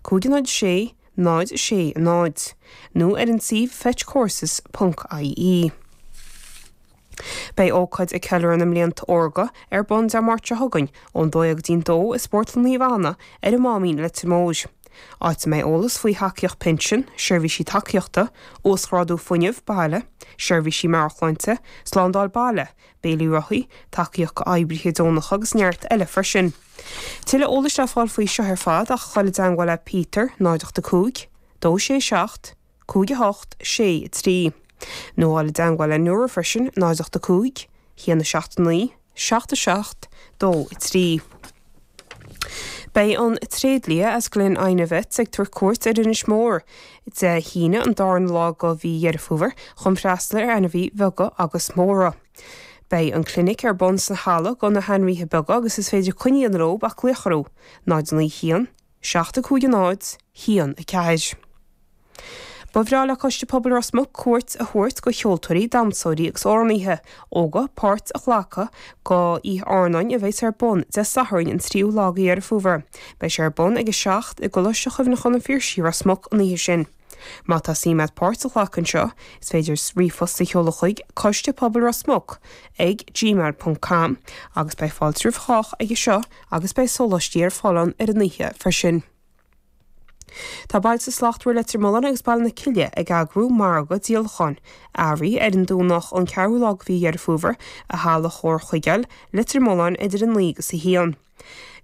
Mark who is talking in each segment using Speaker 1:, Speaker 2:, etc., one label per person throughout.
Speaker 1: 5 0 6 0 6 0 nó ar an suíomh fetchcourses ponc ie. Beidh ócáid ag ceiliúradh na mblianta órga ar bun Dé Máirt seo chugainn ón 12 go dtí'n 2 i Spórtlann Naomh Anna ar an Máimín, Leitir Móir. Áit a mbeidh eolas faoi thacaíocht pinsin, seirbhísí tacaíochta, uasghrádú fuinnimh baile, seirbhísí meabhairshláinte, slándáil baile, béilí rothaí, tacaíocht d'oibrithe deonacha agus neart eile freisin. Tuilleadh eolais le fáil faoi seo ar fad ach dul i dteangmháil le Peter, 0 8 5 2 6 7 5 8 6 3. Nó dul i dteangmháil le Nóra freisin, 0 8 5 1 7 9 7 7 2 3. Beidh an tréidlia as Glen Inagh Vets ag tabhairt cuairt ar Inis Mór Dé hAoine an darna lá de mhí Dheireadh Fómhair chun freastal ar ainmhithe bheaga agus móra. Beidh an clinic ar bun sa halla do na hainmhithe beaga agus is féidir coinne a dhéanamh leo ach glaoch orthu, 0 9 1 7 5 0 1 4. Ba bhreá le Coiste Pobail Ros Muc cuairt a thabhairt go cheoltóirí, damhsóirí agus amhránaithe óga páirt a ghlacadh go Oíche Airneáin a bheas ar bun Dé Sathairn an 3ú lá de Dheireadh Fómhair. Beidh sé ar bun ag 7 i gColáiste Chuimhneacháin an Phiarsaigh, Ros Muc an oíche sin. Má tá suim agat páirt a ghlacadh anseo, is féidir ríomhphost a sheoladh chuig Coiste Pobail Ros Muc ag gmail ponc com agus beidh fáilte roimh chách aige seo agus beidh sóláistí ar fáil ann ar an oíche freisin. Tá Bailte Slachtmhara Leitir Mealláin agus Baile na Cille ag eagrú margadh díolacháin earraí ar an Domhnach an 4ú lá de mhí Dheireadh Fómhair i Halla Chomhar Chuigéil, Leitir Mealláin idir 9 agus 1.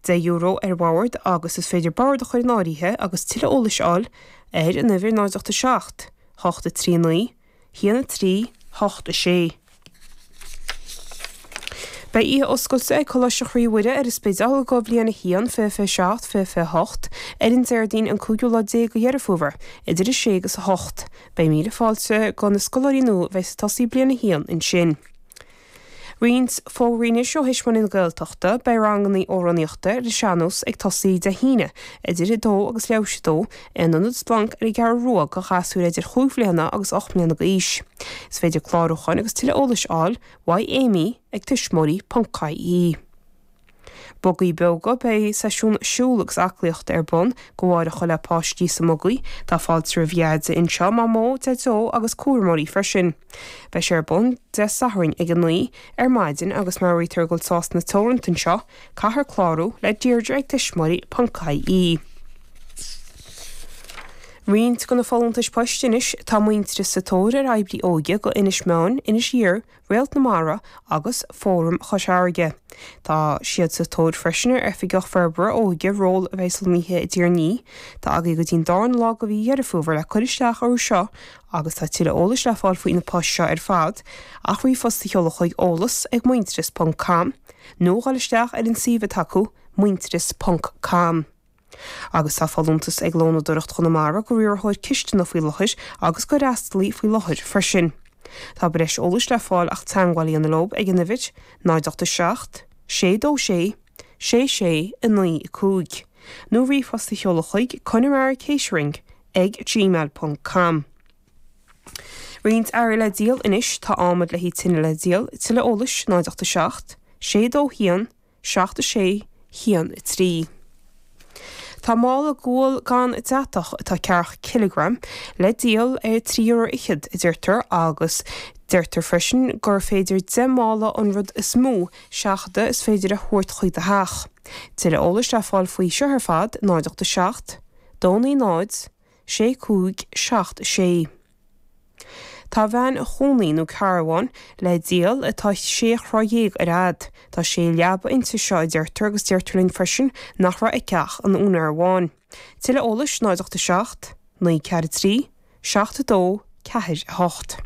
Speaker 1: €10 ar bhord agus is féidir bord a chur in áirithe agus tuilleadh eolais a fháil ar an uimhir 0 8 7 8 3 9 1 3 8 6. Beidh oíche oscailte ag Coláiste Chroí Mhuire ar an Spidéal do Bhliain 1, 2027, 2028 ar an Déardaoin an cúigiú lá déag de Dheireadh Fómhair, idir 6 agus 8. Beidh míle fáilte go na scoláirí nua a bheas ag tosaí Bliain 1 ansin. Roinnt fógraí anois ó Thuismitheoirí na Gaeltachta, beidh ranganna amhránaíochta ar an sean-nós ag tosaí Dé hAoine idir 2 agus leathuair tar éis 2 in Ionad Splanc ar an gCeathrú Rua do ghasúir idir chúig bhliana agus 8 mbliana d'aois. Is féidir clárúcháin agus tuilleadh eolais a fháil uaidh Amy ag tuismitheoirí ponc ie. Bugaí Beoga, Beidh seisiún siúil agus aclaíochta ar bun go mháireach le páistí sa mBugaí. Tá fáilte roimh Dheaide anseo, Mamó, Deaideo agus cúramóirí freisin. Beidh sé ar bun Dé Sathairn ag 9 ar maidin agus meabhraítear go bhfuil sásanna teoranta anseo, caithfear clárú le Deirdre ag tuismitheoirí ponc ie. Roinnt de na folúntais poist anois, tá Muintearas sa tóir ar oibrí óige go Inis Meáin, Inis Oírr, Réalt na Mara agus Fóram Chois Fharraige. Tá siad sa tóir freisin ar Oifigeach Forbartha Óige, ról a bheas lonnaithe i dTír an Fhia. Tá agaibh go dtí'n darna lá de mhí Dheireadh Fómhair le cur isteach orthu seo agus tá tuilleadh eolais le fáil faoi na poist seo ar fad ach ríomhphost a sheoladh chuig eolas ag muintearas ponc com nó dhul isteach ar an suíomh atá acu muintearas ponc com. Agus tá folúntas ag Lónadóireacht Chonamara go riarthóir cisteanach faoi láthair agus go fhreastalaí faoi láthair freisin. Tá breis eolais le fáil ach teagmháil a dhéanamh leo ag an uimhir, 0 8 7 6 2 6 6 6 9 5, nó ríomhphost a sheoladh chuig conamaracatering ag gmail ponc com. Roinnt earraí le díol anois, tá adhmad le haghaidh tine le díol, tuilleadh eolais, 0 8 7 6 2 1 7 6 1 3. Tá mála gual gan deatach atá ceathracha cileagram le díol ar 3 euro fhichead, a deirtear, agus deirtear freisin gur féidir 10 mála an rud is mó seachadadh is féidir a thabhairt chuig do theach. Tuilleadh eolais le fáil faoi seo ar fad, 0 8 7 2 9 0 6 5 7 6. Tá veain chónaí nó carbhán le díol atá sé throigh dhéag ar fhad. Tá sé leaba inti seo a deirtear agus deirtear linn freisin nach raibh aici ach an úinéir amháin. Tuilleadh eolais 0 8 7 9 4 3 7 2 4 8.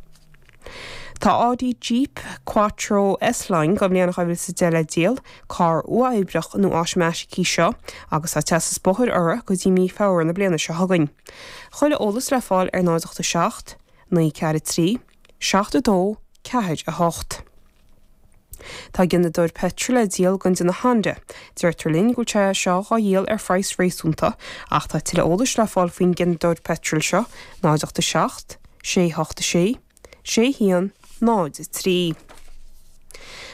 Speaker 1: Tá Audi Jeep Quattro S-Line den bhliain 2010 le díol, carr uathoibríoch nó automaitic í seo agus tá teastas bóthair uirthi go dtí mí Feabhra na bliana seo chugainn. Chuile eolas le fáil ar 0 8 7 9 4 3 7 2 4 8. Tá gineadóir peitril le díol den déanamh Honda. Deirtear linn go bhfuil sé seo dhá dhíol ar phraghas réasúnta ach tá tuilleadh eolais le fáil faoin ghineadóir peitril seo, 0 8 7 6 8 6 6 1 0 3.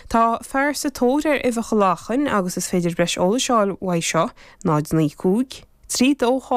Speaker 1: Tá fear sa tóir ar uibheacha lachain agus is féidir breis eolais a fháil uaidh seo, 0 9 5 3 2 8.